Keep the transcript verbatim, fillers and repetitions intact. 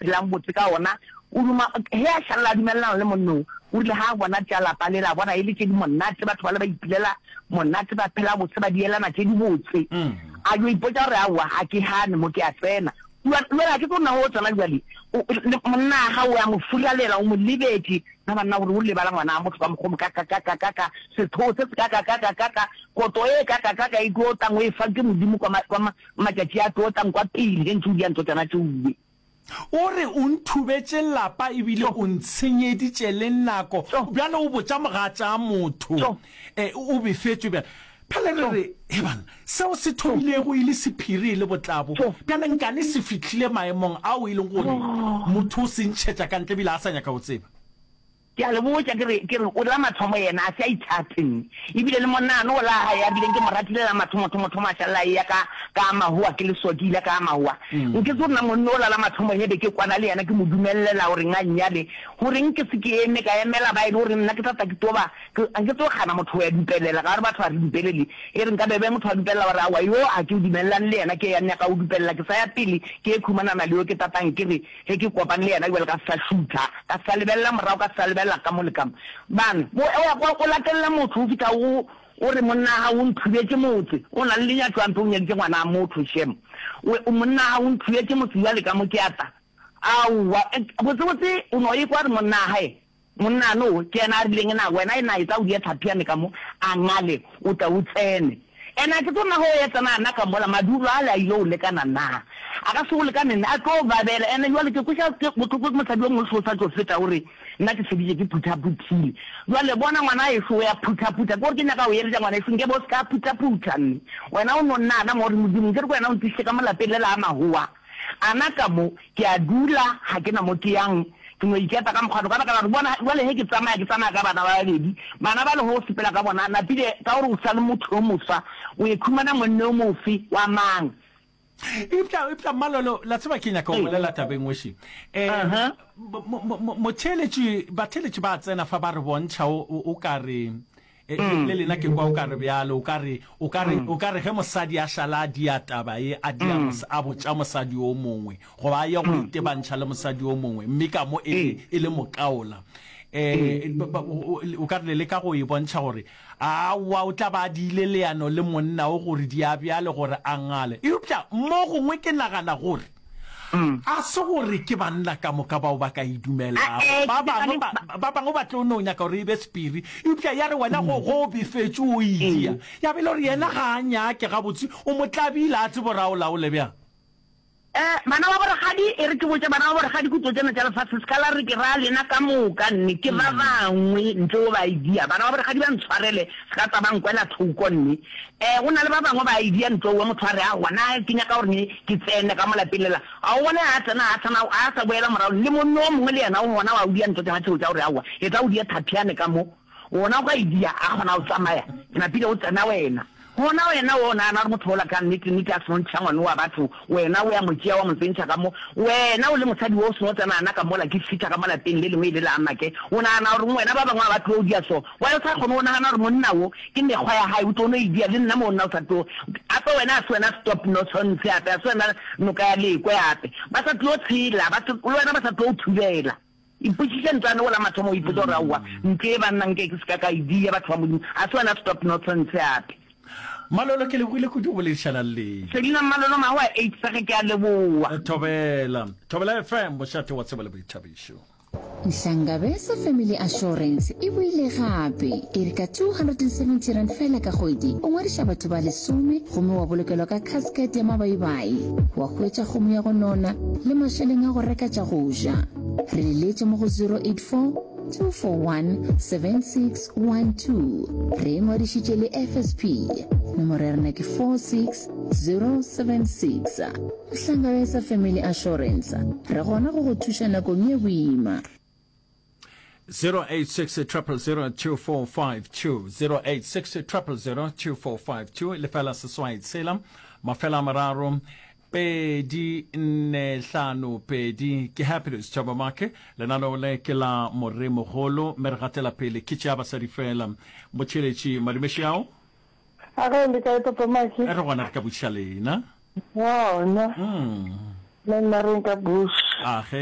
phelang botse ka ona. O duma ge a šalela a dumelelana le monna o, o rile ga a bona tša lapa lela, a bona e le tše di monate, batho bale ba ipilela monate, ba phela botse, ba dielana tše di botse. A yo ipotša gore aowa, ga ke gane mo ke a tsena. Jwale ga ke tlo nna go tsena bjale, monna wa gago o a mo furalela, o mo lebetše. Na banna gore o lebala ngwana wa motho ka mokgwa o mokakakakakaka, sethoo se sekakakakakaka, koto e kakakaka e tlo tlang o e fa ke Modimo kwa, kwa matšatši a tlo tlang kwa pele ge ntše o dia ntho tšona tšeoe. O re o nthubetše lapa ebile o ntshenyeditše le nako. Bjale o botša mogatša motho o befetšwe bjale. Bjale re re, he banna, seo se thomilego e le sephiri e le botlabo, bjale nkane se fihlile maemong ao e leng gore motho o se ntšhetša ka ntle ebile a sa nyaka go tseba. Ke a le botša, ke re, ke re, o la mathomo yena a se a ithate, mme ebile le monnano o la gae a bileng ke mo ratile la mathomothomo-thomo a šalela a eya ka, ka a mahoa, ke le so ke ile ka a mahoa. Nke se gore na monna ola la mathomo he be ke kwana le yena ke mo dumellela gore a nnyale, goreng ke se ke eme ka emela ba e le gore nna ke tla tla ke tlo ba, ke, a nke tlo gana motho go ya dupelela, ka gore batho ga re dupelele, e re nka be be motho a dupelela wa re aowa yo ga ke dumelelane le yena ke ya nyaka go dupelela ke sa ya pele ke ye khumanana le yo ke tatang ke re Ge ke kopane le yena bjale ka sa šutha, ka sa lebelela morago, ka sa lebelela ka mo le ka mo. Bana, o, o ya kwa, o latelela motho o fihla o, o re monna wa gago o nthubetše motse, o na le lenyatšo ampe o nyaditše ngwana wa motho, shem. O, o monna wa gago o nthubetše motse bjale ka mo ke a tla. Aowa, botsebotse o no ekwa gore monna wa gae Monna no ke yena a rileng na wena e na etla o die tlhapi ya me ka mo, a ngale o tle o tsene. Ene a ke tlo nna go ye tsena ana ka mola, madulo ale a ile go lekana na? A ka se go lekane nne, a tlo babela. Ene jwale ke kweša ke bohloko ke mosadi yo mongwe so sa tšo feta o re nna ke feditše ke phuthaputhile. Jwale bona ngwana ešo o ya phuthaphutha, ke gore ke nyaka go eletša ngwana ešo nke be o se ka phuthaphutha nne. Wena o no nna ana mo gore Modimo nke re ke wena o ntlišitše ka mo lapeng le la mahowa. Ana ka mo, ke a dula, ga ke na mo ke yang. Ke no iketa ka mokgwa no, ka baka la gore, bona, bjale ge ke tsamaya, ke tsamaya ka bana ba babedi. Bana ba le go sepela ka bona, napile, ka gore o sa le motho yo moswa, o ye khumana monna yo mofe, wa mang? Eupša, eupša, Mmalolo, la tseba ke nyaka go bolela taba e nngwe še. Um, motheeletši, batheeletši ba tsena fa ba re bontšha o, o, o ka re, E, mm. Le lena ke kwa o ka re bjalo, o ka re, o ka re, mm. o ka re ge mosadi a šala a dia taba ye, a dia mm. a botša mosadi o mongwe, goba a ye go itebantšha le mosadi o mongwe, mme ka mo e le, e le mokaola. Eh, o ka re le leka go e bontšha gore aowa o tla ba a diile leano le monna o gore di a bjale gore a ngale. Eupša mo gongwe ke nagana gore A se gore ke banna ka moka bao ba ka e dumelago. Ba bangwe ba, ba bangwe ba tlo no nyaka gore e be sephiri. Eupša ya re wena go, go o befetše o e dia, ya be e le gore yena ga a nyake gabotse, o mo tlabile, a tsebe gore a o laole bjang. Eh, bana ba borakgadi, e re ke botše bana ba borakgadi kutlo tšena tša lefase, se ka la re ke ra lena ka moka, nne ke ba bangwe ntle o ba e dia. Bana ba borakgadi ba ntshwarele, se ka tsa ba nkwela thoko, nne. Eh, go na le ba bangwe ba e dia ntle owe motho a re, aowa, na ke nyaka gore ne ke tsene ka mo lapeng lela. A o bone a tsena, a sa na, a sa boela morago, le monna o mongwe le yena o gona wa o dia ntho tšona tšeo tša gore aowa, etla o die thapyane ka mo. Wona o ka e dia, a kgona go tsamaya, ke napile go tsena wena. Gona wena o nagana gore motho ola ka nnete nnete a seno ntšha ngwana wa batho, wena o ya mo tšea wa mo tsentšha ka mo, wena o le mosadi wo o seno tsena ana ka mola ke fihla ka mo lapeng le lengwe e le la make, o nagana gore wena ba bangwe ga ba tlo dia so, why o sa kgone go nagana gore monna wo ke mekgwa ya gae o tlo no e dia le nna mo nna o sa tlo ape wena a se wena stop nonsense ape a se wena noka ya lekwe ape ba sa tlo tshela ba le wena ba sa tlo o thubela. Ipotšiše ntlwane o la mathomo o ipotša gore aowa ntlo e banna nke ke se ka ka e dia batho ba Modimo a se wena stop nonsense ape. Mmalolo ke lebogile kudu go boledišana le lena. Selina Mmalolo Mahoa eight Sege ke a leboa. Thobela. Thobela F M mošate wa tsebo le boithabišo. Nhlangabeza Family Assurance e boile gape. E re ka two hundred and seventy rand fela ka kgwedi, o ngwadiša batho ba lesome gomme wa bolokelwa ka casket ya mabaibai, wa hwetša kgomo ya go nona le mašeleng a go reka tša go ja. Re leletše mo go zero eight four, two four one, seven six one two. Re ingwadišitše le F S P. Nomoro ya rena ke four six zero seven six. Hlangabetsa Family Assurance, re gona go go thuša nakong ye boima. zero eight six triple zero two four five two, zero eight six triple zero two four five two, lefela seswai tshela mafela a mararo pedi nne hlano pedi. Ke Happiness Thabo Make, lenaneo le ke la moremogolo mme re gatela pele ke tša basadi fela. Motšheletši madumeši ao. A ge le kae Papa Maki? Re gona re ka botšiša lena. Gona. Mm. Le nna re nka bush. A ge.